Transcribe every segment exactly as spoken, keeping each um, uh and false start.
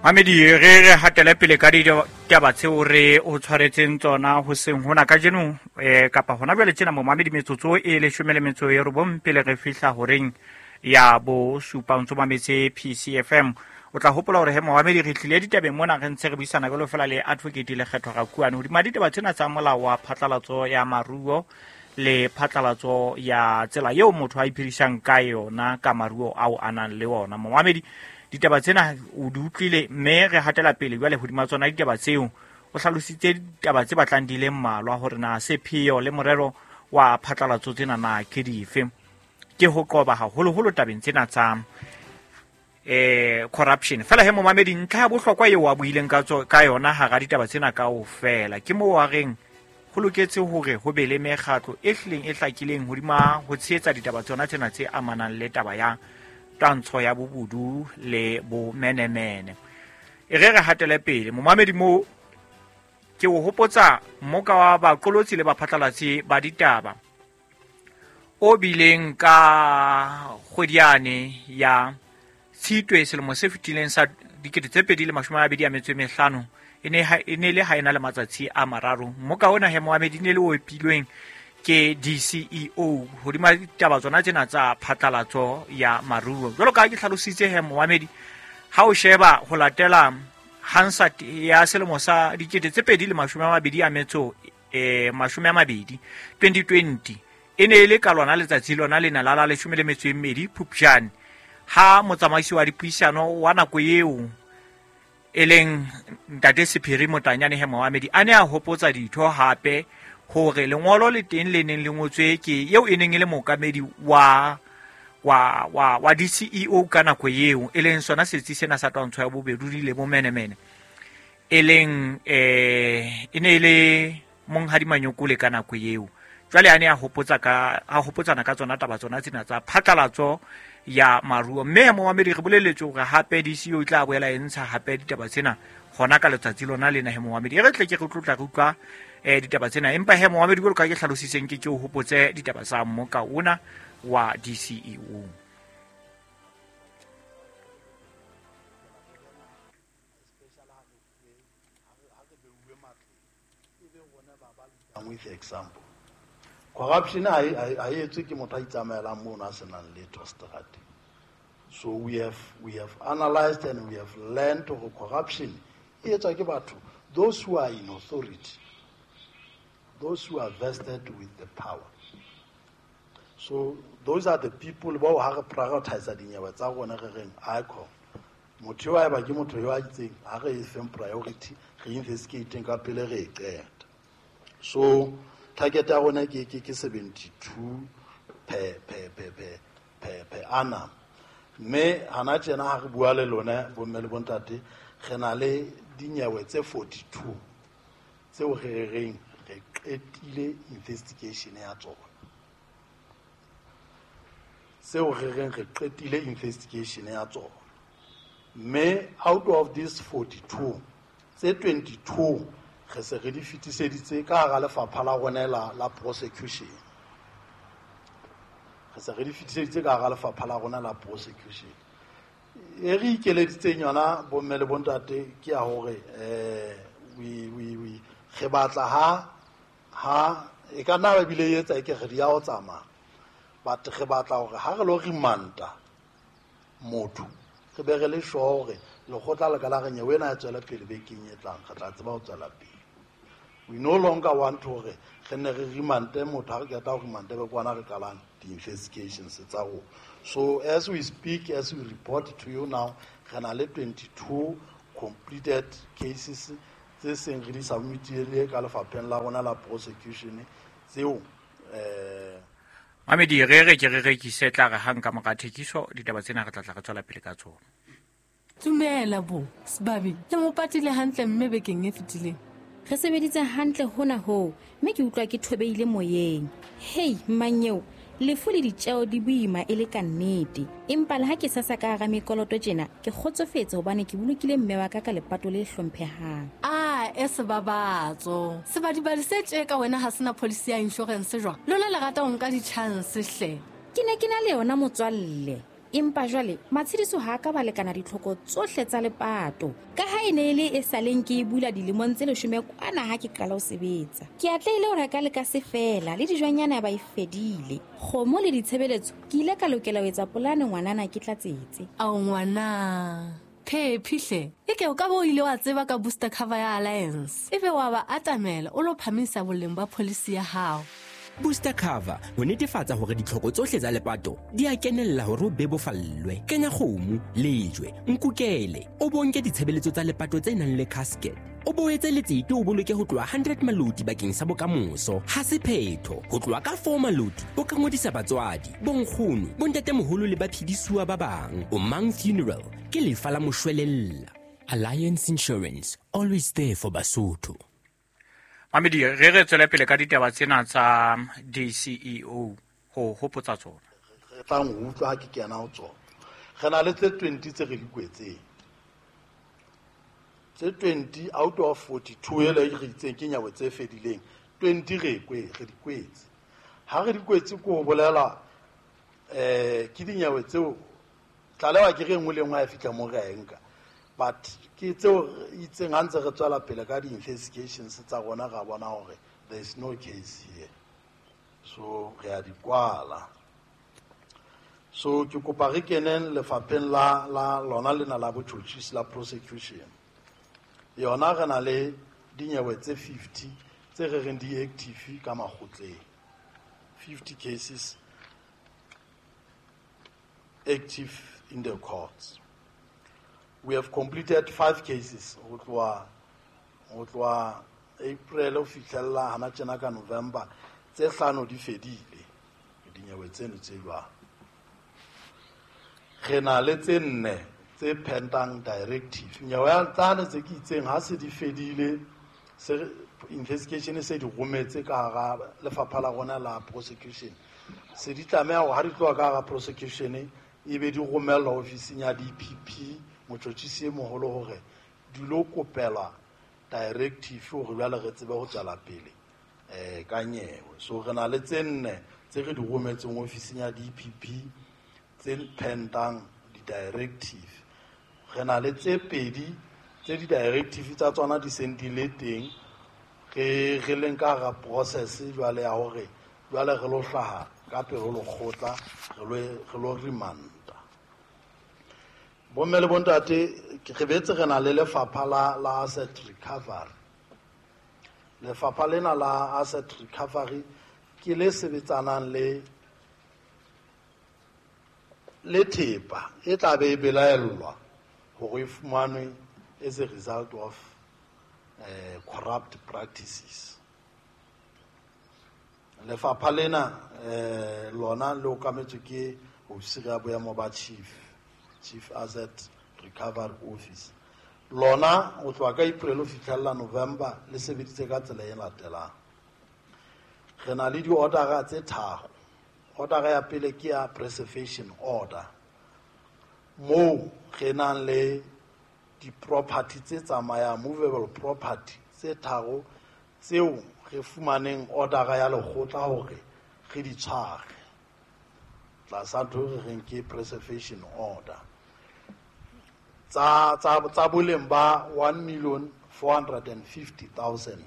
Mamedi, re re hatele pele ka ditaba tseo re o tshwaretseng tsona hoseng hona kajeno, eh, kapa hona jwale tjena momamedi, metsotso e leshome le metso e robong pele re fihla horeng ya bosupa. O ntso mametse P C F M. O tla hopola hore he momamedi, re tlile ditabeng mona re ntse re buisana jwalo fela le Advocate Lekgetho Rakuane hodima ditaba tsena tsa molao wa phatlalatso ya maruo le phatlalatso ya tsela eo motho a iphedisang ka yona ka maruo ao a nang le ona. Momamedi, ditaba tsena o di utlwile mme re hatela pele jwale hodima tsona ditaba tseo. O hlalositse ditaba tse batlang di le mmalwa hore na sepheo le morero wa phatlalatso tsena na ke dife. Ke ho qoba haholoholo tabeng tsena tsa eh corruption. Fela he momamedi, ntlha ya bohlokwa eo a buileng ka tso-, ka yona hara ditaba tsena kaofela ke moo a reng ho loketse hore ho be le mekgatlo e hlileng e hlakileng hodima ho tshehetsa ditaba tsona tsena tse amanang le taba ya twantsho ya bobodu le bomenemene. E re re hatele pele momamedi, moo ke o hopotsa mmoka wa baqolotsi le baphatlalatsi ba ditaba o bileng ka kgwediane ya Tshitwe selemo se fetileng sa dikete tse pedi le mashome a mabedi a metso e mehlano. E ne ha, e ne le ha ena le matsatsi a mararo. Mmoka ona he momamedi ne le o epilweng ke D C E O hodima ditaba tsona tsena tsa phatlalatso ya maruo. Jwalo ka ha ke hlalositse he momamedi, ha o sheba ho latela Hansard ya selemo sa dikete tse pedi le mashome a mabedi a metso, eh, mashome a mabedi, twenty twenty, e ne e le ka lona letsatsi lona lena la la leshome le metso e mmedi Phupjane, ha motsamaisi wa dipuisano wa nako eo e leng Ntate Sephiri Motanyane he momamedi a ne a hopotsa ditho hape hore lengolo le teng le neng le ngotswe ke eo e neng e le mookamedi wa, wa, wa, wa D C E O ka nako eo, e leng sona setsi sena sa twantsho ya bobedudi le bomenemene, e leng, eh, e ne e le Monghadi Manyokole ka nako eo. Jwale a ne a hopotsa ka, a hopotsana ka tsona taba tsona tsena tsa phatlalatso ya maruo. Mme momamedi, re boleletswe hore hape D C E O e tla boela e ntsha hape ditaba tsena hona ka letsatsi lona lena he momamedi. E re tle ke re tlotla re utlwa, eh, ditaba tsena, empa he momamedi, jwalo ka ke hlalositseng, ke ke o hopotse ditaba tsa mmoka ona wa D C E O. With example, corruption ha e, ha e etswe ke motho a itsamaelang mono a senang letho seterateng. So we have, we have analyzed and we have learned hore corruption e etswa ke batho, those who are in authority, those who are vested with the power. So those are the people bao ha re prioritize dinyewe tsa rona re reng I C O M. Motho eo haeba ke motho yo a itseng, ha re e feng priority, re investigateng ka pele re e qeta. So target ya rona ke, ke, ke seventy-two per, per, per, per, per, per annum. Mme hana tjena ha re bua le lona bomme le bontate, re na le dinyewe tse forty-two tseo re re reng re qetile investigation ya tsona. Tseo re reng re qetile investigation ya tsona. Mme out of these forty-two, tse twenty-two re se re di fetiseditse ka hara lefapha la rona la, la prosecution. Re se re di fetiseditse ka hara lefapha la rona la prosecution. E re ikeleditseng yona bomme le bontate ke ya hore, eh, we, we, we, re batla ha, ha, e ka nna ba bile e etsa e ke re di ya ho tsamaya. But re batla hore ha re lo remanta motho, re be re le sure hore lekgotla le ka la re nyewe ena e tswela pele bekeng e tlang, re tla tseba ho tswela pele. We no longer want hore re nne re remante motho, ha re qeta ho remante be kwana re qalang di-investigations tsa rona. So as we speak, as we report to you now, re na le twenty-two completed cases tse seng re di submitile ka lefapheng la rona la prosecution tseo, eh, Mamedi, re re ke re rekise tla re hang ka mora thekiso, ditaba tsena re tla tla re tswela pele ka tsona. Dumela bo, Sebabi, le mo patile hantle mme bekeng e fetileng. Re sebeditse hantle hona hoo, mme ke utlwa ke thobeile moyeng. Hei, mmanyeo, lefu le ditjeo di boima e le ka nnete. Empa le ha ke sasa ka hara mekoloto tjena, ke kgotsofetse hobane ke bolokile mme wa ka ka lepato le hlomphehang. Ah, e sebabatso. Sebadibadi se tje ka wena ha sena policy ya insurance jwang? Lona le rata ho nka di-chance hle. Ke ne ke na le yona motswalle. Empa jwale matshediso ha ka ba lekana ditlhoko tsohle tsa lepato. Ka ha e ne e le e saleng ke e bula dilemong tse leshome kwana ha ke qala ho sebetsa. Ke atlehile ho reka le ka se fela le dijwanyana ba e fedile. Kgomo le ditshebeletso ke ile ka lokela ho etsa polane ngwanana ke tlatsetse. Ao ngwana. Phephi hle, eke o ka bo ile wa tseba ka booster cover ya Alliance. Ebe wa ba atamela o lo phamisa boleng ba policy ya hao. Booster cover ho netefatsa hore ditlhoko tsohle tsa lepato di a kenella hore o bebofallwe. Kenya kgomo, lejwe, nkukele, o bonke ditshebeletso tsa lepato tse nang le casket. O boetse letsete o boloke ho tloha hundred maloti bakeng sa bokamoso. Ha se phetho, ho tloha ka four maloti o ka ngodisa batswadi, bonkgono, bontatemoholo le baphedisuwa ba bang. O Mang Funeral ke lefa la moshwelella. Alliance Insurance, always there for Basotho. Mamedi, re re tswele pele ka ditaba tsena tsa D C E O ho hopotsa tsona. Re tlang ho utlwa ha ke kena ho tsona. Re na le tse twenty tse re di kwetseng. Tse twenty out of forty-two ele re itseng ke nyawe tse fedileng. twenty re kwe re di kwetse. Ha re di kwetse ko bolela eh ke dinyawe tseo tlalewa ke re nngwe le nngwe ha e fihla mo re a e nka. But ke tseo itseng ha ntse re tswela pele ka di-investigations tsa rona ra bona hore there is no case here. So re a di kwala. So ke kopa re keneng lefapheng la la lona lena la botjhotjhisi la prosecution. Yona re na le dinyewe tse fifty tse re reng di active ka makgotleng. fifty cases active in the courts. We have completed five cases. Ho tloha ho tloha April ho fihlella hana tjena ka November tse hlano di fedile dinyewe tseno tse jwalo. Re na le tse nne tse pendang directive. Nyewe ya tsane tse ke itseng ha se di fedile se investigation se di rometse ka hara lefapha la rona la prosecution. Se di tlameha hore ha di tloha ka hara prosecution e be di romellwa ofising ya D P P motjhotjhisi e moholo hore di lo kopelwa directive hore jwale re tsebe ho tswela pele eh ka nyewe. So re na le tse nne tse re di rometseng ofising ya D P P tse pendang di-directive. Re na le tse pedi tse di-directive tsa tsona di seng di le teng re re leng ka hara process jwale ya hore jwale re lo hlaha ka pele ho lekgotla re lo re lo remanda. Bomme le bontate re betse re na le lefapha la la asset recovery. Lefapha lena la asset recovery ke le sebetsanang le le thepa e tla be e belaellwa hore e fumanwe as a result of uh, corrupt practices. Lefapha lena eh lona le okametswe ke ofisiri ya boemo ba chief Chief Asset Recovery Office. Lona ho tloha ka April ho fihlella November le sebeditse ka tsela e latelang. Re na le di-order tse tharo. Order ya pele ke ya preservation order. Moo re nang le di-property tse tsamayang, movable property tse tharo tseo re fumaneng order ya lekgotla hore re di tshware. Tlasa ntho re reng ke preservation order. Tsa tsa tsa boleng ba one million four hundred and fifty thousand.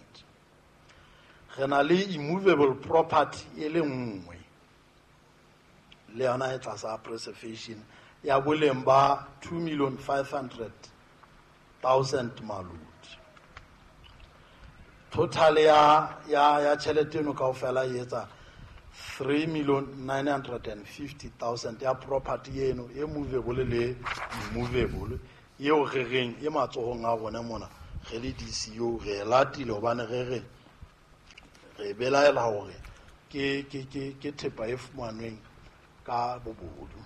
Re na le immovable property e le nngwe le yona e tlasa preservation ya boleng ba two million five hundred thousand maloti. Total ya ya ya tjhelete eno kaofela e etsa three million nine hundred and fifty thousand ya property eno e movable le immovable eo re reng e matsohong a rona mona re le D C O re latile hobane re re re belaela hore ke ke ke ke thepa e fumanweng ka bobodu.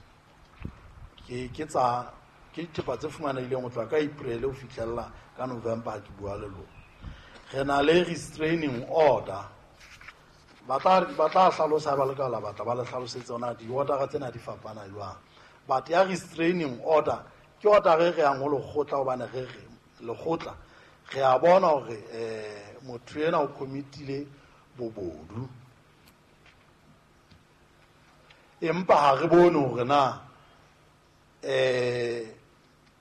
Ke ke tsa ke thepa tse fumanehileng ho tloha ka April ho fihlella ka November ke bua le lona. Re na le restraining order. Ba tla ba tla hlalosa ba le ka la batla ba le hlalosetse hona di-order tsena di fapana jwang. But ya restraining order ke order re re yang ho lekgotla hobane re re lekgotla re a bona hore eh motho ena o committile bobodu. Empa ha re bone hore na eh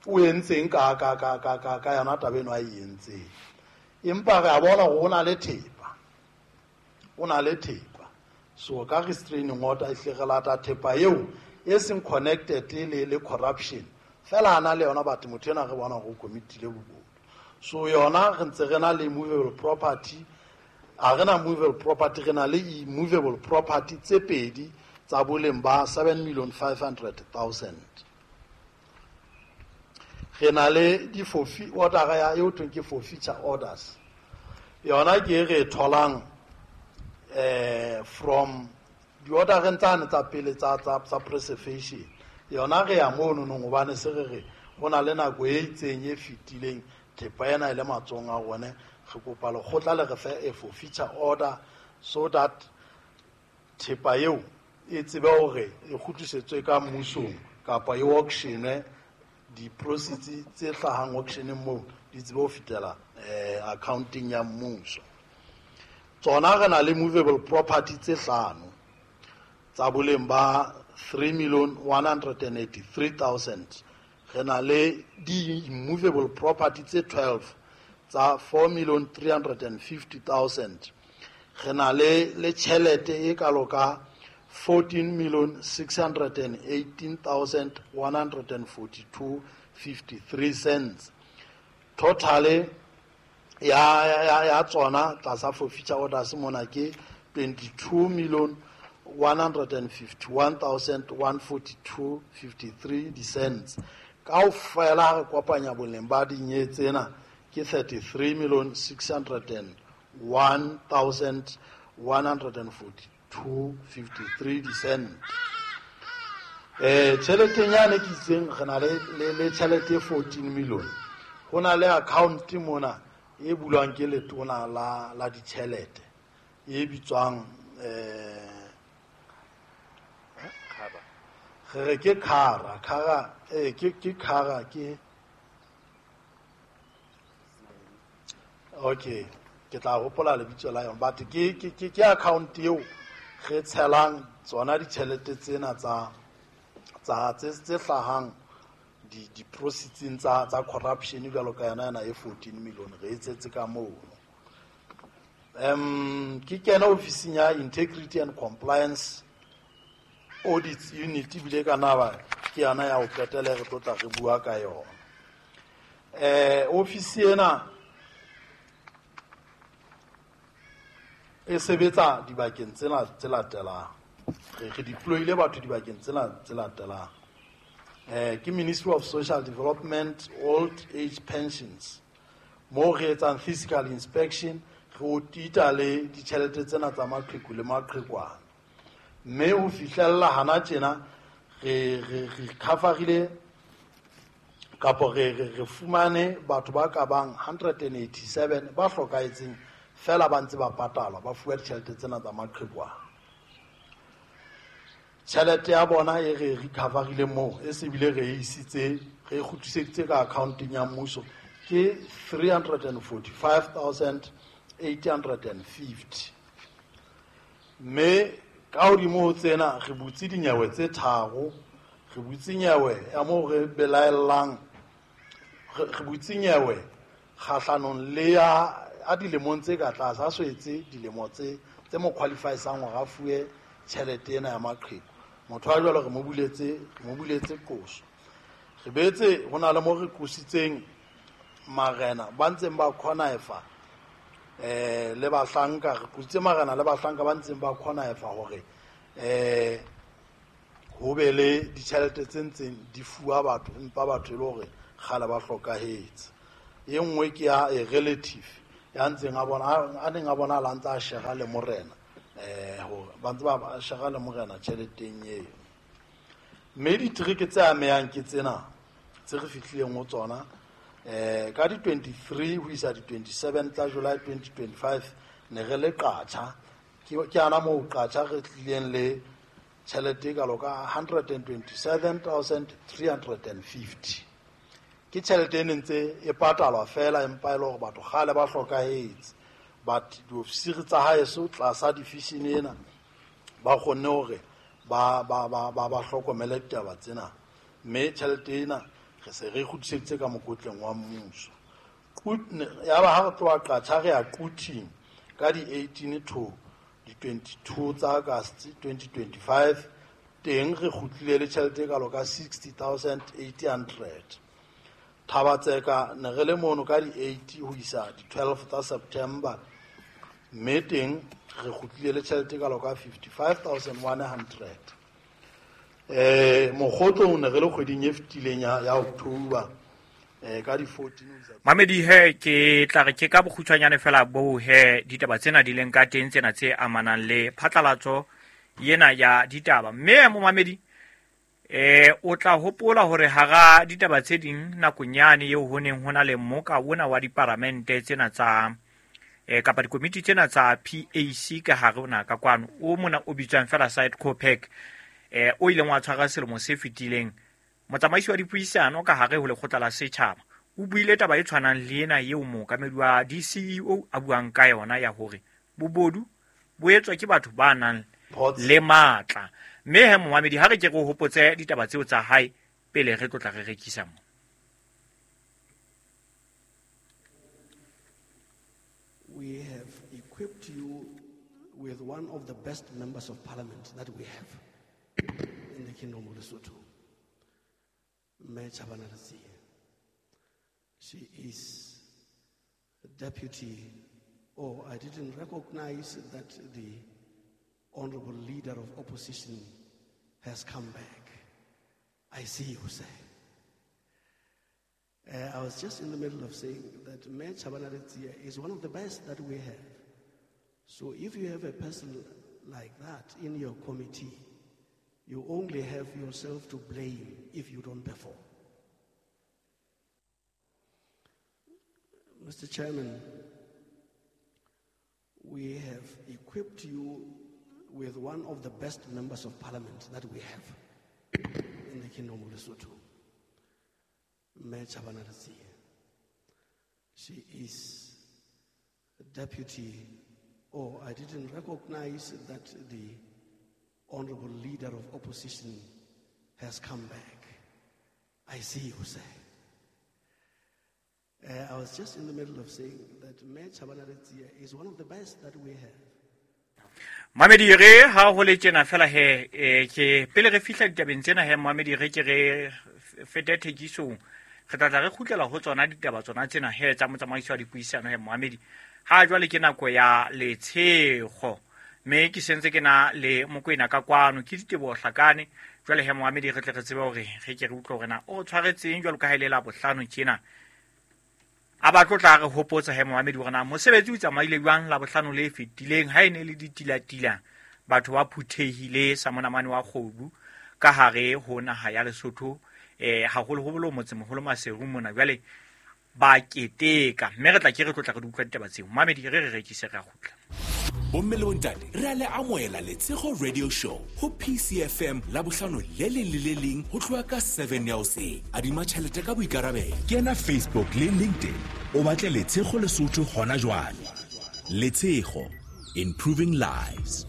o entseng ka ka ka ka ka ka yona taba eno a e entseng. Empa re a bona hore o na le thepa, o na le thepa. So ka restraining order e hle re lata thepa eo e seng connected le le corruption fela ana le yona, but motho ena re bona hore o committile bobodu. So yona re ntse re na le movable property, a re na movable property, re na le immovable property tse pedi tsa boleng ba seven million five hundred thousand. Re na le di forfeit order ya eo thweng ke forfeiture orders. Yona ke e re e tholang eh from di-ordereng tsane tsa pele tsa tsa tsa preservation. Yona re ya mono nong hobane se re re ho na le nako e itseng e fetileng thepa ena e le matsohong a rone, re kopa lekgotla le re fe a forfeiture order so that thepa eo e tsebe hore e kgutlisetswe ka mmusong kapa e auctionwe, di-proceeds tse hlahang auctioneng moo di tsebe ho fetela eh accounting ya mmuso. Tsona re na le movable property tse hlano tsa boleng ba three million one hundred and eighty-three thousand. Re na le di-immovable property tse twelve tsa four million three hundred and fifty thousand. Re na le le tjhelete e kalo ka fourteen million six hundred and eighteen thousand one hundred and forty-two fifty-three cents. Totally ya ya ya tsona tlasa forfeiture orders mona ke twenty-two million one hundred and fifty-one thousand one forty-two fifty-three cents. Kaofela re kopanya boleng ba dinye tsena ke thirty-three million six hundred and one thousand one hundred and forty-two fifty-three cents. Eh tjheleteng yane ke itseng re na le le tjhelete fourteen million. Ho na le account mona e bulwang ke letona la la ditjhelete e bitswang eh re re ke khara khara eh ke ke khara ke okay ke tla hopola lebitso la yona, but ke ke ke account eo re tshelang tsona ditjhelete tsena tsa tsa tse tse hlahang di di proceeds tsa tsa corruption jwalo ka yona yona e fourteen million re e tsetse ka mono. Um ke kena ofising ya Integrity and Compliance Audit Unit ebile ka naba ke yona ya ho qetela re tlo tla re bua ka yona. Eh ofisi ena e sebetsa dibakeng tsena tse latelang. Re re deployile batho dibakeng tsena tse latelang. Eh ke Ministry of Social Development, Old Age Pensions. Mo re etsang physical inspection, re otita le ditjhelete tsena tsa maqheku le maqhekwana. Mme ho fihlella hana tjena re re re coverile kapo re re re fumane batho ba ka bang hundred and eighty-seven ba hlokahetseng fela ba ntse ba patalwa ba fuwa ditjhelete tsena tsa maqhekwana. Tjhelete ya bona e re recoverile moo e se bile re isitse re kgutliseditse ka accounting ya mmuso ke three hundred and forty-five thousand eight hundred and fifty. Mme ka hodimo ho tsena re butse dinyewe tse tharo, re butse nyewe ya moo re belaellang, re butse nyewe kgahlanong le ya a dilemong tse ka tlase, a so etse dilemo tse tse mo qualifysang hore a fuwe tjhelete ena ya maqheku. Motho wa jwalo re mo buletse, re mo buletse qoso. Re betse ho na le mo re qositseng marena ba ntseng ba connive eh le bahlanka, re qositse marena le bahlanka ba ntseng ba connive hore eh ho be le ditjhelete tse ntseng di fuwa batho empa batho e le hore kgale ba hlokahetse. E nngwe ke ya a relative ya ntseng a bona a neng a bona la ntsa a shera le morena eh hore ba ntse ba shera le morena tjheleteng eo. Mme ditereke tse amehang ke tsena tse re fihlileng ho tsona eh ka di twenty-three ho isa di twenty-seven tsa July twenty twenty-five ne re le Qacha. Ke ke ana moo Qacha re tlileng le tjhelete e kalo ka hundred and twenty-seven thousand three hundred and fifty. Ke tjhelete e ntse e patalwa fela empa e le hore batho kgale ba hlokahetse, but diofisiri tsa haeso tlasa division ena ba kgonne hore ba ba ba ba ba hlokomele ditaba tsena. Mme tjhelete ena re se re kgutliseditse ka mokotleng wa mmuso. Ya ba ha re tloha Qacha re ya Quthing ka di eighteen to di twenty-two tsa August twenty twenty-five, teng re kgutlile le tjhelete e kalo ka sixty thousand eight hundred. Thaba-Tseka ne re le mono ka di eight ho isa di twelve tsa September, mme teng re kgutlile le tjhelete e kalo ka fifty-five thousand one hundred. eh Mokgotlong ne re le kgweding e fetileng ya ya October eh ka di fourteen ho isa Mamedi he, ke tla re ke ka bokgutshwanyane fela bo he ditaba tsena di leng ka teng, tsena tse amanang le phatlalatso yena ya ditaba. Mme momamedi, eh o tla hopola hore hara ditaba tse ding nakong yane eo ho neng ho na le mmoka ona wa diparamente tsena tsa eh kapa dikomiti tsena tsa P A C ka hare ona ka kwano, o mona o bitswang fela side COPAC, eh o ileng wa tshwara selemo se fetileng, motsamaisi wa dipuisano ka hare ho lekgotla la setjhaba o buile taba e tshwanang le ena eo mookamedi wa D C E O a buang ka yona ya hore bobodu bo etswa ke batho ba nang le matla. Mme he momamedi, ha re ke re o hopotse ditaba tseo tsa hae pele re tlotla re rekisa mo. We have equipped you with one of the best members of parliament that we have in the Kingdom of Lesotho, Mme Chabana Letsie. She is deputy. Oh, I didn't recognize that the honorable leader of opposition has come back. I see you, sir. Uh, I was just in the middle of saying that Mme Chabana Letsie is one of the best that we have. So if you have a person like that in your committee, you only have yourself to blame if you don't perform. Mister Chairman, we have equipped you with one of the best members of parliament that we have in the Kingdom of Lesotho, Mme Chabana Letsie. She is deputy. Oh, I didn't recognize that the honorable leader of opposition has come back. I see you, sir. Uh, I was just in the middle of saying that Mme Chabana Letsie is one of the best that we have. Mamedi, re ha ho le tjena fela he, eh, ke pele re fihla ditabeng tsena he momamedi, re ke re fete thekisong, re tla tla re kgutlela ho tsona ditaba tsona tsena he tsa motsamaisi wa dipuisano he momamedi. Ha jwale ke nako ya letshego, mme ke sentse ke na le Mokwena ka kwano, ke Diteboho Hlakane. Jwale he momamedi, re tle re tsebe hore re ke re utlwe hore na o tshwaretseng jwalo ka ha e le la bohlano tjena. A ba tlo tla re hopotsa he momamedi hore na mosebetsi o tsamaile jwang la bohlano le fetileng ha e ne le ditilatila, batho ba phuthehile sa monamane wa kgobu ka hare ho naha ya Lesotho, eh haholoholo motsemoholo Maseru mona, jwale ba keteka. Mme re tla ke re tlotla re di utlwa ditaba tseo. Mamedi, re re rekise, re a kgutla. Bomme le bontate, re a le amohela Letshego Radio Show ho P C F M Labohlano le leng le le leng ho tloha ka seven ya hoseng. Adima tjhelete ka boikarabelo. Kena Facebook le LinkedIn, o batle Letshego Lesotho hona jwale. Letshego, improving lives.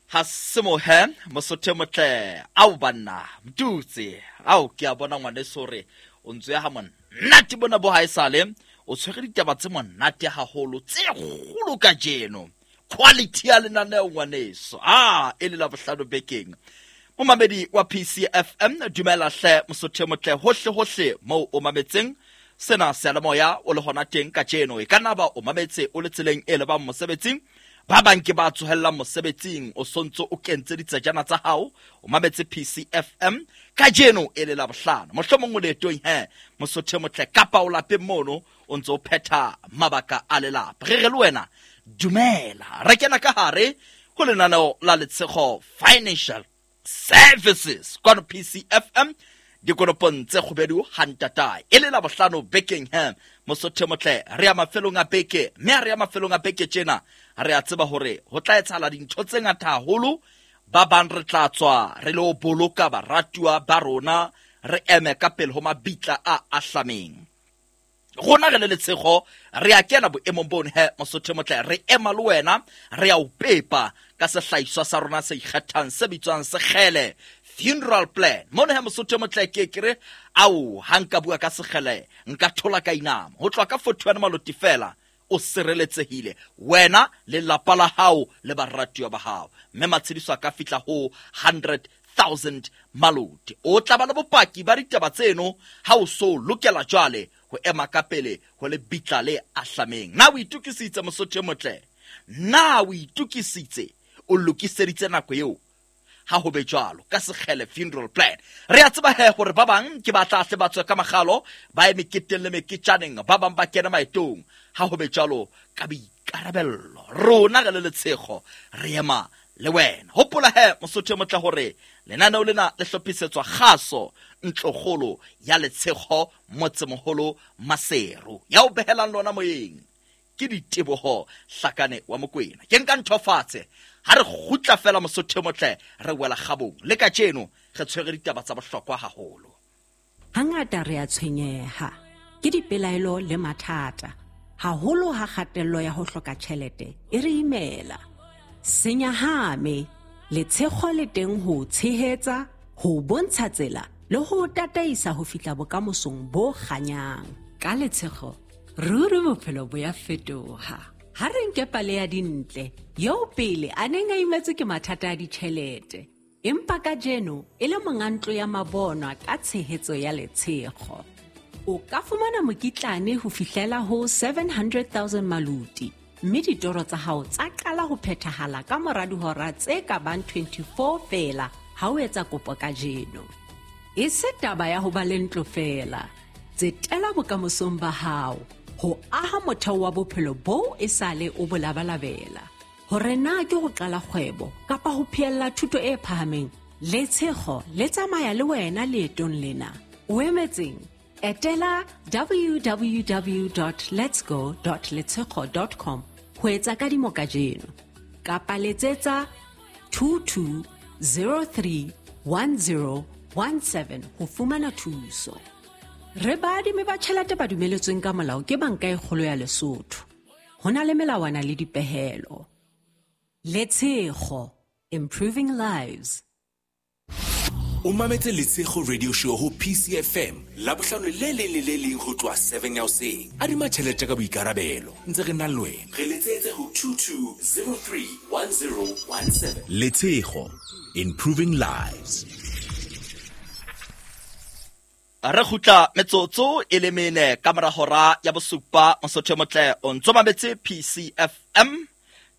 Ha semohe mosotho motle ao banna mtutse ao ke a bona ngwaneso hore o ntse ha monate bona bo haesale o tshwere ditaba tse monate haholo tse kgolo kajeno, quality ya lenaneo ngwaneso. Ah, e le la bohlano bekeng, momamedi wa P C F M, dumela hle mosotho motle hohle hohle moo o mametseng sena seyalemoya o le hona teng kajeno. E ka nna ba o mametse o le tseleng e lebang mosebetsing, ba bang ke ba tsohellang mosebetsing, o sontso o kentse ditsejana tsa hao, o mametse P C F M kajeno e le la bohlano. Mohlomong o leetong he mosotho motle, kapa o lapeng mono o ntse o phetha mabaka a lelapa. Re re le wena dumela, re kena ka hare ho lenaneo la Letshego Financial Services kwano P C F M, dikonopong tse kgubedu hantatae, e le la bohlano bekeng he mosotho motle. Re ya mafelong a beke, mme ha re ya mafelong a beke tjena re a tseba hore ho tla etsahala dintho tse ngata haholo. Ba bang re tla tswa re lo boloka baratuwa ba rona, re eme ka pele ho mabitla a ahlameng. Rona re le Letshego re a kena boemong bono he mosotho motle, re ema le wena, re a o pepa ka sehlahiswa sa rona se ikgethang se bitswang Sekgele Funeral Plan. Mono he mosotho motle ke ke re ao ha nka bua ka Sekgele nka thola ka inama. Ho tloha ka forty-one maloti fela o sireletsehile wena le lapa la hao le baratuwa ba hao, mme matshediso a ka fihla ho hundred thousand maloti. O tla ba le bopaki ba ditaba tseno ha o so lokela jwale ho ema ka pele ho le bitla le ahlameng. Na o itokisitse mosotho motle? Na o itokisitse? O lokiseditse nako eo? Ha ho be jwalo ka Sekgele Funeral Plan. Re a tseba he hore ba bang ke ba tla hle ba tswe ka makgalo, ba ye meketeng le meketjaneng, ba bang ba kena maetong. Ha ho be jwalo ka boikarabello rona re le Letshego re ema le wena. Hopola he mosotho motle hore lenaneo lena le hlophisetswa kgaso ntlokgolo ya Letshego motsemoholo Maseru. Ya o behelang lona moyeng ke Diteboho Hlakane wa Mokwena. Ke nka ntho fatshe ha re kgutla fela mosotho motle re wela kgabong. Le kajeno re tshwere ditaba tsa bohlokwa haholo. Hangata re a tshwenyeha ke dipelaelo le mathata, haholo ha kgatello ya ho hloka tjhelete e re imela. Senyahame, Letshego le teng ho tshehetsa, ho bontsha tsela le ho tataisa ho fihla bokamosong bo kganyang. Ka Letshego ruri bophelo bo ya fetoha. Ha re nke pale ya Dintle eo pele a neng a imetswe ke mathata a ditjhelete, empa kajeno e le monga ntlo ya mabonwa ka tshehetso ya Letshego. O ka fumana mokitlane ho fihlela ho seven hundred thousand maluti, mme ditoro tsa hao tsa qala ho phethahala ka mora dihora tse ka bang twenty-four feela ha o etsa kopo kajeno. E se taba ya ho ba le ntlo feela, tsetela bokamosong ba hao ho aha motheo wa bophelo boo e sale o bo labalabela. Hore na ke ho qala kgwebo kapa ho phehella thuto e phahameng, Letshego le tsamaya le wena leetong lena. O emetseng? Etela w w w dot letsgo dot letshego dot com ho etsa kadimo kajeno, kapa letsetsa two two zero three one zero one seven ho fumana thuso. Re baadimi ba tjhelete ba dumeletsweng ka molao ke Banka e Kgolo ya Lesotho. Ho na le melawana le dipehelo. Letshego, improving lives. O mametse Letshego Radio Show ho P C F M Labohlano le leng le le leng ho tloha seven ya hoseng. Adima tjhelete ka boikarabelo ntse re na le wena. Re letsetse ho two two zero three one zero one seven. Letshego, improving lives. Re kgutla metsotso e le mene ka mora hora ya bosupa mosotho motle o ntso mametse P C F M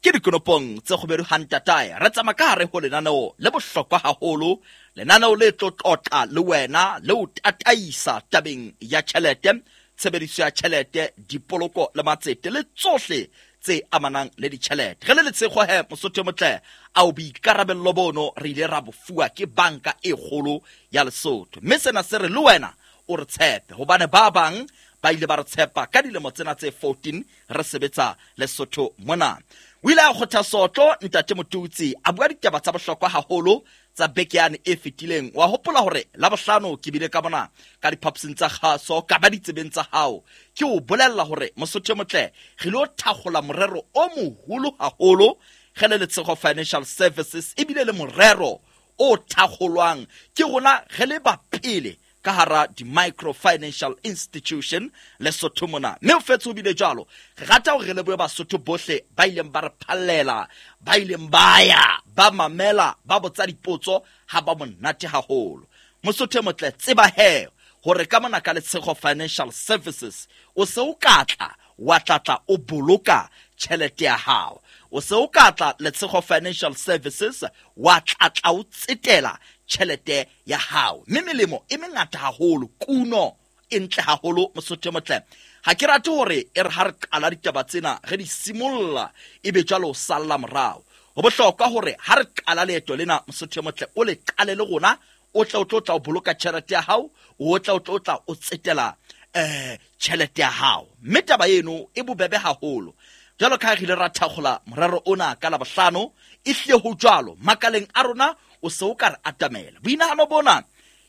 ke dikonopong tse kgoberu hantatae. Re tsamaya ka hare ho lenaneo le bohlokwa haholo, lenaneo le tlo tlotla le wena le o tataisa tabeng ya tjhelete, tshebediso ya tjhelete, dipoloko le matsete le tsohle tse amanang le ditjhelete. Re le Letshego he mosotho motle a o boikarabello bono re ile ra bofuwa ke Banka e Kgolo ya Lesotho, mme sena se re le wena o re tshepe hobane ba bang ba ile ba re tshepa ka dilemo tsena tse fourteen re sebetsa Lesotho mona. O ile a kgotha sotlo ntate Motutsi a bua ditaba tsa bohlokwa haholo tsa beke yane e fetileng. Wa hopola hore Labohlano ke bile ka bona ka diphapusing tsa kgaso ka ba ditsebeng tsa hao ke o bolella hore mosotho motle re lo thakgola morero o moholo haholo re le Letshego Financial Services, ebile le morero o thakgolwang ke rona re le ba pele ka hara di-micro financial institution Lesotho mona. Mme o fetse ho bile jwalo, re rata hore re lebohe Basotho bohle ba ileng ba re phallela, ba ileng ba ya, ba mamela, ba botsa dipotso ha ba monate haholo. Mosotho motle tseba he hore ka mona ka Letshego Financial Services o se o ka tla wa tlatla o boloka tjhelete ya hao. O se o ka tla Letshego Financial Services wa tlatla o tsetela tjhelete ya hao. Mme melemo e mengata haholo, kuno e ntle haholo mosotho motle. Ha ke rate hore e re ha re qala ditaba tsena re di simolla ebe jwalo o salla morao. Ho bohlokwa hore ha re qala leeto lena mosotho motle o le qale le rona, o tla o tlo tla o boloka tjhelete ya hao, o tla o tlo tla o tsetela eh tjhelete ya hao. Mme taba eno e bobebe haholo. Jwalo ka ha re ile ra thakgola morero ona ka Labohlano, e hlile ho jwalo makaleng a rona o se o ka re atamela. Boinahano bona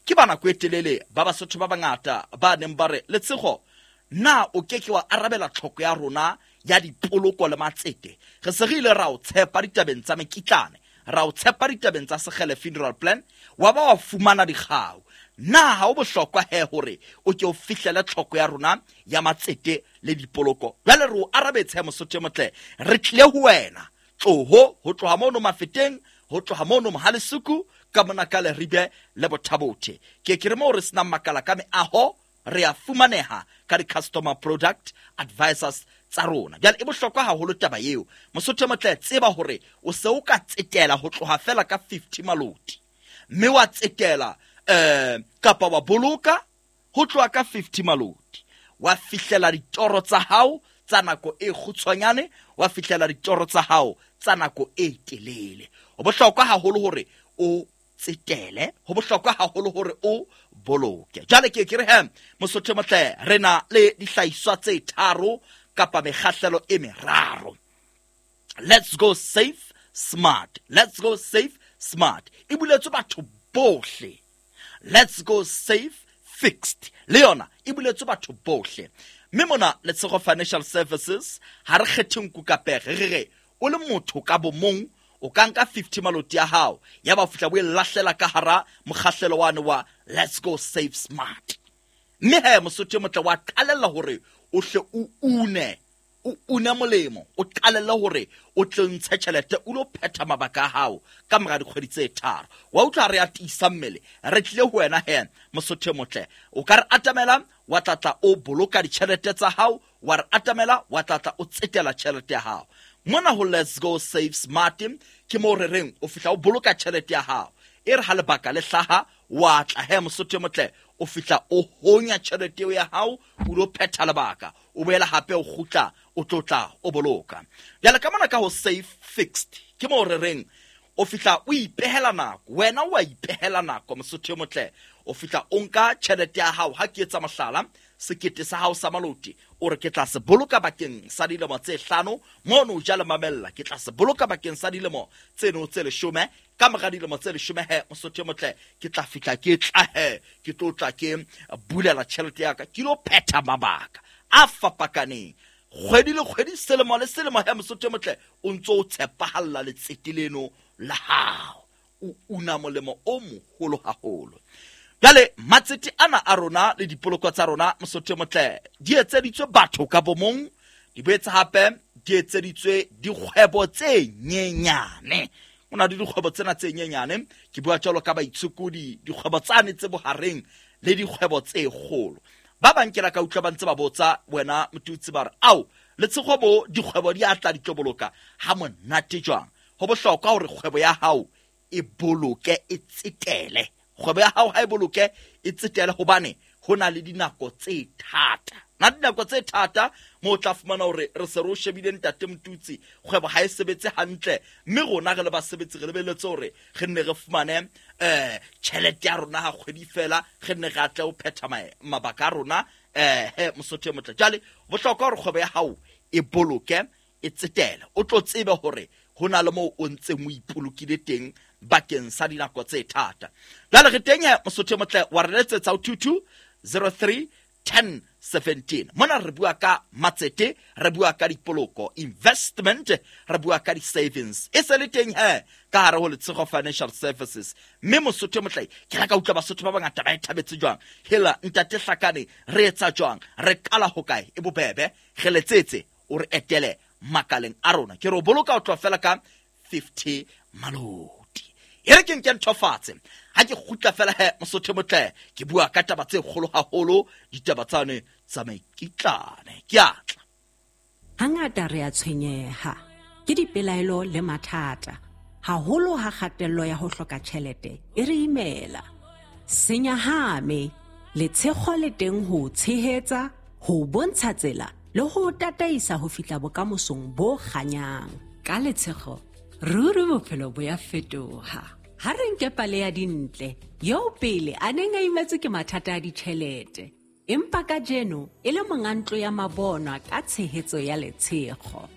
ke ba nako e telele ba Basotho ba bangata ba neng ba re Letshego, Na o ke ke wa arabela tlhoko ya rona ya dipoloko le matsete? Re se re ile ra o tshepa ditabeng tsa mekitlane, ra o tshepa ditabeng tsa Sekgele funeral plan, wa ba wa fumana dikgau. Na ha o bohlokwa he hore o ke o fihlele tlhoko ya rona ya matsete le dipoloko? Jwale re o arabetse he Mosotho motle, re tlile ho wena. Tloho ho tloha mono Mafeteng, ho tloha mono Mohalesuku, ka mona ka Leribe le Bothabothe. Ke ke re moo re senang makala ka meaho, re a fumaneha ka di-customer product advisors tsa rona. Jwale e bohlokwa haholo taba eo. Mosotho motle, tseba hore o se o ka tsetela ho tloha fela ka fifty maloti, mme wa tsetela eh kapa wa boloka ho tloha ka fifty maloti, wa fihlela ditoro tsa hao tsa nako e kgutshwanyane, wa fihlela ditoro tsa hao tsa nako e telele. Ho bohlokwa haholo hore o tsetele, ho bohlokwa haholo hore o boloke. Jwale ke ke re he Mosotho motle, re na le dihlahiswa tse tharo kapa mekgahlelo e meraro. Let's go safe smart, let's go safe smart e buletswe batho bohle. Let's go safe fixed le yona e buletswe batho bohle. Mme mona Letshego Financial Services ha re kgethe nku ka pere, re re o le motho ka bomong o ka nka fifty maloti ya hao, ya ba fihla bo e lahlela ka hara mokgahlelo wane wa Let's go safe smart. Mme he Mosotho motle, wa qalella hore o hle o une, o une molemo, o qalelle hore o tle ntshe tjhelete o lo phetha mabaka a hao ka mora dikgwedi tse tharo. Wa utlwa re a tiisa mmele, re tlile ho wena he Mosotho motle. O ka re atamela wa tlatla o boloka ditjhelete tsa hao, wa re atamela wa tlatla o tsetela tjhelete ya hao. Mona ho Let's go save smart ke mo re reng o fihla o boloka tjhelete ya hao, e re ha lebaka le hlaha wa tla he Mosotho motle, o fihla o honya tjhelete eo ya hao, o lo phetha lebaka, o boela hape o kgutla o tlotla o boloka. Jwale ka mona ka ho safe fixed ke mo re reng o fihla o ipehela nako, wena wa ipehela nako Mosotho motle. O fihla o nka tjhelete ya hao, ha ke etsa mohlala, sekete sa hao sa maloti o re ke tla se boloka bakeng sa dilemo tse hlano, mono o ja le mamella, ke tla se boloka bakeng sa dilemo tseno tse leshome. Ka mora dilemo tse leshome he Mosotho motle, ke tla fihla ke tla he ke tlo tla ke bulela tjhelete ya ka, ke lo phetha mabaka a fapakaneng kgwedi le kgwedi, selemo le selemo. He Mosotho motle, o ntso o tshepahalla letsete leno la hao, o una molemo o moholo haholo. Jwale matsete ana a rona le dipoloko tsa rona Mosotho motle di etseditswe batho ka bomong, di boetse hape di etseditswe dikgwebo tse nyenyane. Ho na le dikgwebo tsena tse nyenyane, ke bua jwalo ka baitshokodi, dikgwebo tsane tse bohareng le dikgwebo tse kgolo. Ba bang ke la ka utlwa ba ntse ba botsa wena Motutsi, ba re ao Letshego bo dikgwebo di a tla di tlo boloka ha monate jwang. Ho bohlokwa hore kgwebo ya hao e boloke, e tsetele. Kgwebo ya hao ha e boloke, e tsetele, hobane ho na le dinako tse thata. Na dinako tse thata mo tla fumana hore re se re o shebile ntate Motutsi, kgwebo ha e sebetse hantle, mme rona re le basebetsi re lebeletse hore re nne re fumane eh tjhelete ya rona ha kgwedi fela, re nne re atle ho phetha mabaka a rona eh he Mosotho motle. Jwale bohlokwa hore kgwebo ya hao e boloke, e tsetele, o tlo tsebe hore ho na le moo o ntseng o ipolokile teng bakeng sa dinako tse thata. Jwale re teng he Mosotho motle, wa re letsetsa ho two two zero three ten seventeen. Mona re bua ka matsete, re bua ka dipoloko, investment, re bua ka di-savings. E se le teng he ka hare ho Letshego Financial Services. Mme Mosotho motle, ke la ka utlwa Basotho ba bangata ba e thabetse jwang. Hela ntate Hlakane, re etsa jwang? Re qala ho kae? E bobebe, re letsetse o re etele makaleng a rona. Ke re o boloka o tloha fela ka fifty maloti. E re ke nke ntho fatshe. Ha ke kgutla fela he Mosotho motle, ke bua ka taba tse kgolo haholo, ditaba tsane tsa mekitlane. Ke a tla. Hangata re a tshwenyeha ke dipelaelo le mathata, haholo ha kgatello ya ho hloka tjhelete e re imela. Senyahame, Letshego le teng ho tshehetsa, ho bontsha tsela le ho tataisa ho fihla bokamosong bo kganyang. Ka Letshego, ruri bophelo bo ya fetoha. Ha re nke pale ya Dintle, eo pele a neng a imetswe ke mathata a ditjhelete, empa kajeno e le monga ntlo ya mabonwa ka tshehetso ya Letshego.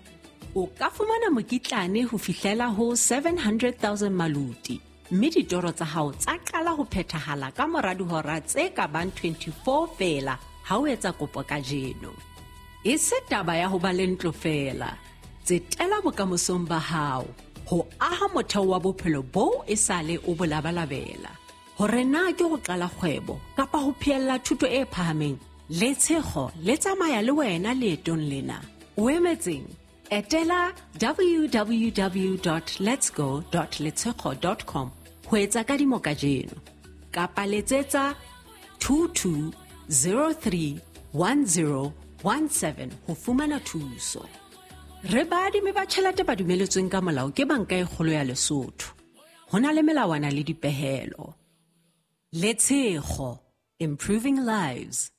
O ka fumana mokitlane ho fihlela ho seven hundred thousand maluti, mme ditoro tsa hao tsa qala ho phethahala ka mora dihora tse ka bang twenty-four feela ha o etsa kopo kajeno. E se taba ya ho ba le ntlo feela. Tsetela bokamosong ba hao ho aha motheo wa bophelo boo e sale o bo labalabela. Hore na ke ho qala kgwebo kapa ho phehella thuto e phahameng, Letshego le tsamaya le wena leetong lena. O emetseng? Etela w w w dot letsgo dot letshego dot com ho etsa kadimo kajeno. Kapa letsetsa two two zero three one zero one seven ho fumana thuso. Re baadimi ba tjhelete ba dumeletsweng ka molao ke Banka e Kgolo ya Lesotho. Ho na le melawana le dipehelo. Letshego, improving lives.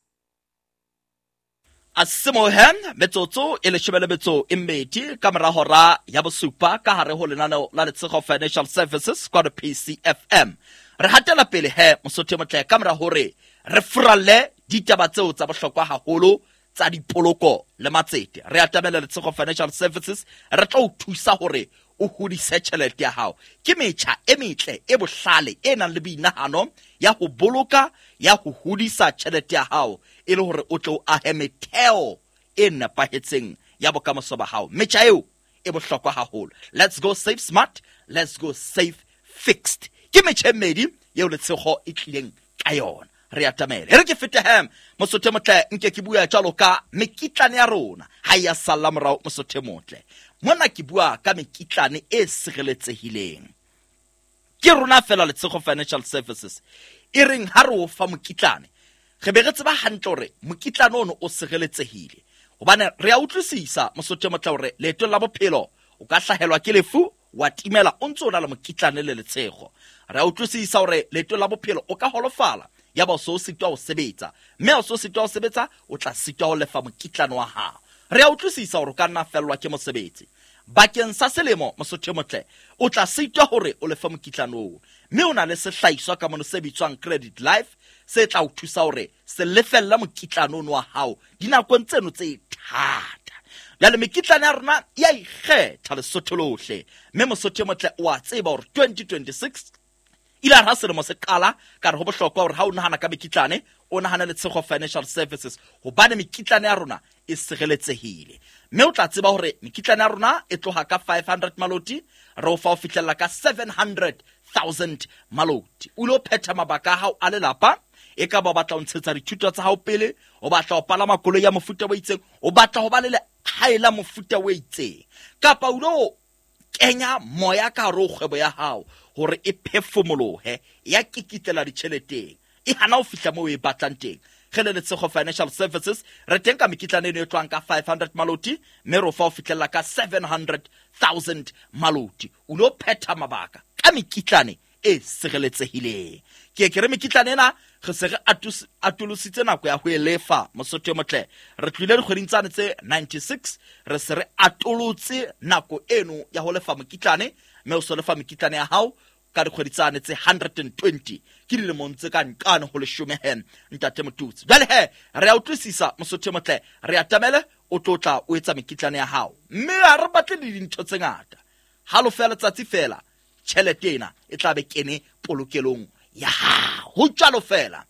Asimohen metsotso e leshome le metso e mmedi ka mora hora ya bosupa ka hare ho lenaneo la Letshego Financial Services kwa P C F M. Re hatela pele he Mosotho motle ka mora hore re furalle ditaba tseo tsa bohlokwa haholo tsa dipoloko le matsete. Re atamela Letshego Financial Services, re tla o thusa hore o hodise tjhelete ya hao. Ke metjha e metle e bohlale e nang le boinahano ya ho boloka, ya ho hodisa tjhelete ya hao e le hore o tle o ahe metheo e nepahetseng ya bokamoso ba hao. Metjha eo e bohlokwa haholo. Let's go save smart, let's go save fixed. Ke metjha e mmedi eo Letshego e tlileng ka yona. Re atamele. E re ke fete hem Mosotho motle, nke ke bua jwalo ka mekitlane ya rona ha ya salla morao Mosotho motle. Mona ke bua ka mekitlane e sireletsehileng. Ke rona fela Letshego Financial Services e reng ha re o fa mokitlane, re be re tseba hantle hore mokitlane ono o sireletsehile. Hobane re a utlwisisa Mosotho motle hore leetong la bophelo o ka hlahelwa ke lefu wa timela o ntse o na le mokitlane le Letshego. Re a utlwisisa hore leetong la bophelo o ka holofala ya ba o so sitwa ho sebetsa, mme o so sitwa ho sebetsa o tla sitwa ho lefa mokitlane wa hao. Re a utlwisisa hore o ka nna fellwa ke mosebetsi bakeng sa selemo Mosotho motle, o tla sitwa hore o lefe mokitlane oo, mme o na le sehlahiswa ka mono se bitswang Credit Life se tla o thusa hore se lefella mokitlane ono wa hao dinakong tseno tse thata. Jwale mekitlane ya rona ya ikgetha Lesotho lohle, mme Mosotho motle o a tseba hore twenty twenty-six ile ha selemo se qala ka re ho bohlokwa hore ha o nahana ka mekitlane o nahana Letshego Financial Services, hobane mekitlane ya rona e sireletsehile. Mme o tla tseba hore mekitlane ya rona e tloha ka five hundred maloti re o fa ho fihlella ka seven hundred thousand maloti. O lo phetha mabaka a hao a lelapa, e ka ba o batla ho ntshetsa dithuto tsa hao pele, o batla ho palama koloi ya mofuta o itseng, o batla ho ba le lehae la mofuta o itseng, kapa o lo kenya moya ka hare ho kgwebo ya hao hore e phefumolohe ya kikitlela ditjheleteng, e hana ho fihla moo e batlang teng. Re le Letshego Financial Services re teng ka mekitlane eno e tlohang ka five hundred maloti, mme re o fa ho fihlella ka seven hundred thousand maloti. O lo phetha mabaka ka mekitlane e sireletsehileng. Ke ke re mekitlane ena re se re atolositse nako ya ho e lefa Mosotho motle. Re tlohile dikgweding tsane tse ninety-six, re se re atolotse nako eno ya ho lefa mokitlane, mme o so lefa mekitlane ya hao ka dikgwedi tsane tse hundred and twenty. Ke dilemong tse ka nqane ho leshome he ntate Motutsi. Jwale he re a utlwisisa Mosotho motle, re atamele o tlo tla o etsa mekitlane ya hao, mme ha re batle le dintho tse ngata. Halofo ya letsatsi fela tjhelete ena e tla be kene polokelong ya hao. Ho jwalo fela.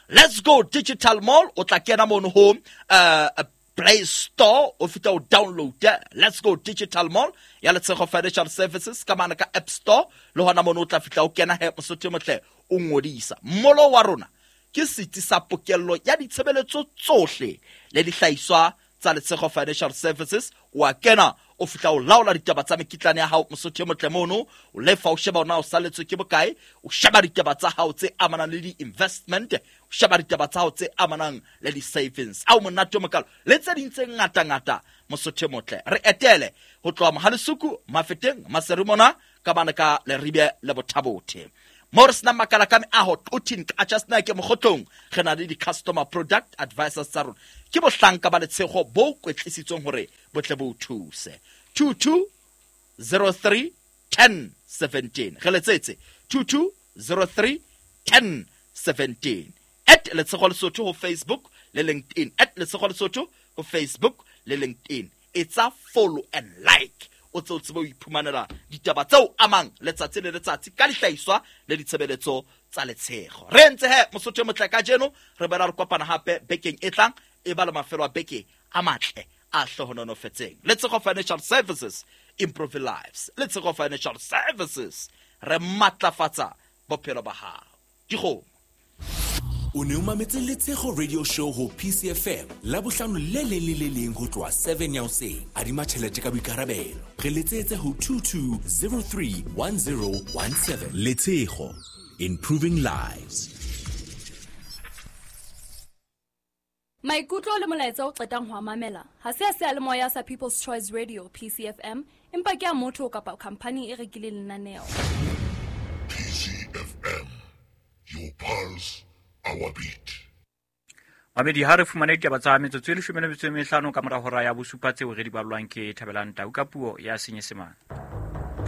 Let's go Digital Mall, o tla kena mono ho uh, Play Store, o fihla o download Let's Go Digital Mall ya Letshego Financial Services ka mane ka App Store, le hona mono o tla fihla o kena he Mosotho motle o ngodisa. Molo wa rona ke setsi sa pokello ya ditshebeletso tsohle le dihlahiswa tsa Letshego Financial Services. O a kena o fihla o laola ditaba tsa mekitlane ya hao Mosotho motle mono, o lefa o sheba ona o saletswe ke bokae, o sheba ditaba tsa hao tse amanang le di-investment, o sheba ditaba tsa hao tse amanang le di-savings. Ao monate o mokalo le tse ding tse ngata-ngata Mosotho motle. Re etele ho tloha Mohalesuku, Mafeteng, Maseru mona ka bana ka Leribe le Bothabothe. Mo re senang makala ka meaho Quthing Qacha's Nek Mokgotlong, re na le di-customer product advisors tsa rona. Ke bohlanka ba Letshego bo kwetlisitsweng hore bo tle bo o thuse. two two zero three ten seventeen. Re letsetse two two zero three ten seventeen. At Letshego Lesotho ho Facebook le LinkedIn. At Letshego Lesotho ho Facebook le LinkedIn. Etsa follow and like. O tse o tsebe ho iphumanela ditaba tseo amang letsatsi le letsatsi ka dihlahiswa le ditshebeletso tsa Letshego. Re ntse he Mosotho e motle kajeno, re boela re kopana hape bekeng e tlang, e ba le mafelo a beke a matle a hlohononofetseng. Letshego Financial Services, improve lives. Letshego Financial Services, re matlafatsa bophelo ba hao. Dikgomo. O ne o mametse Letshego Radio Show ho P C F M la bohlano le leng le le leng ho tloha seven ya hoseng. Adima tjhelete ka boikarabelo. Re letsetse ho two two zero three one zero one seven. Letshego, improving lives. Maikutlo le molaetsa o qetang ho mamela ha se a seyalemoya sa People's Choice Radio P C F M, empa ke a motho kapa company e rekileng lenaneo. P C F M, your pulse, our beat. Mamedi, ha re fumane ditaba tsa metsotso e leshome le metso e mehlano ka mora hora ya bosupa tseo re di ballwang ke Thabelang Tau ka puo ya Senyesemane.